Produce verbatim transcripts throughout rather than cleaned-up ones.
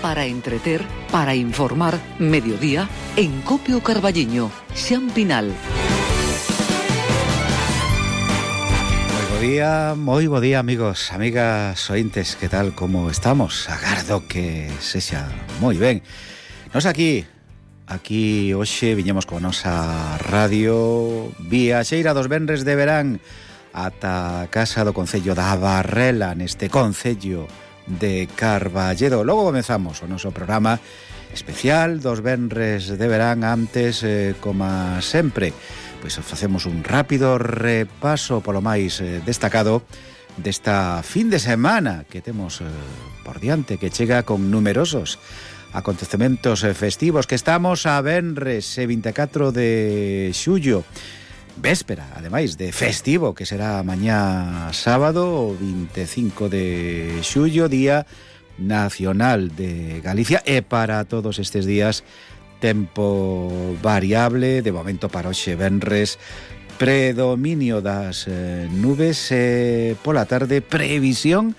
para entreter, para informar, mediodía, en Copio Carballiño, Xan Pinal. Moi bo día, moi bo día, amigos, amigas ointes, que tal, como estamos? Agardo que sexa moi ben. Nos aquí, aquí hoxe viñemos con a nosa radio viaxeira dos venres de verán ata a casa do Concello da Barrela, neste Concello de Carballedo. Logo comezamos o noso programa especial dos venres de verán. Antes, eh, como sempre, pois facemos un rápido repaso polo máis eh, destacado desta fin de semana que temos eh, por diante, que chega con numerosos acontecementos eh, festivos, que estamos a venres e vinte e catro de xullo, véspera, ademais, de festivo, que será mañá sábado, vinte e cinco de xullo, Día Nacional de Galicia, e para todos estes días tempo variable, de momento para hoxe venres, predominio das eh, nubes e pola tarde previsión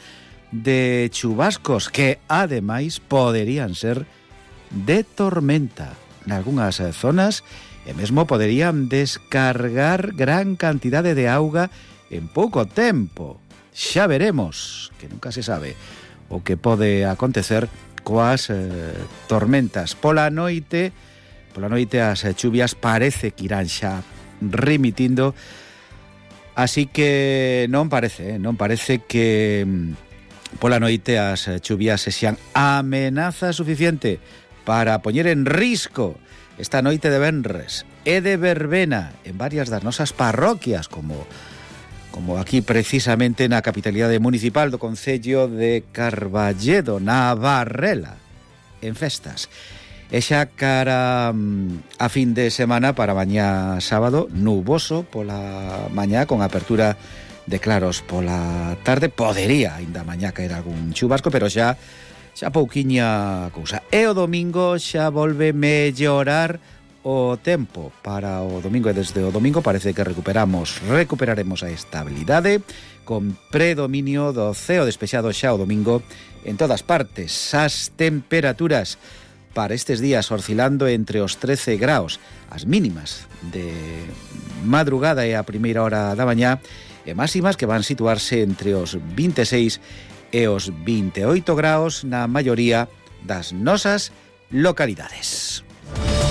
de chubascos que ademais poderían ser de tormenta nalgúnas eh, zonas, e mesmo poderían descargar gran cantidade de auga en pouco tempo. Xa veremos, que nunca se sabe o que pode acontecer coas eh, tormentas. Pola noite, pola noite as chuvias parece que irán xa remitindo, así que non parece, eh, non parece que pola noite as chuvias sexan amenaza suficiente para poñer en risco esta noite de venres e de verbena en varias das nosas parroquias, como como aquí precisamente na capitalidade municipal do Concello de Carballedo, na Barrela, en festas. E xa cara a fin de semana, para mañá sábado, nuboso pola mañá, con apertura de claros pola tarde. Podería aínda mañá caer algún chubasco, pero xa xa pouquiña cousa. E o domingo xa volve mellorar o tempo. Para o domingo, e desde o domingo parece que recuperamos recuperaremos a estabilidade, con predominio do ceo despexado xa o domingo en todas partes. As temperaturas para estes días oscilando entre os trece graus, as mínimas de madrugada e a primeira hora da mañá, e máximas que van situarse entre os vinte e seis e os vinte e oito graus na maioría das nosas localidades.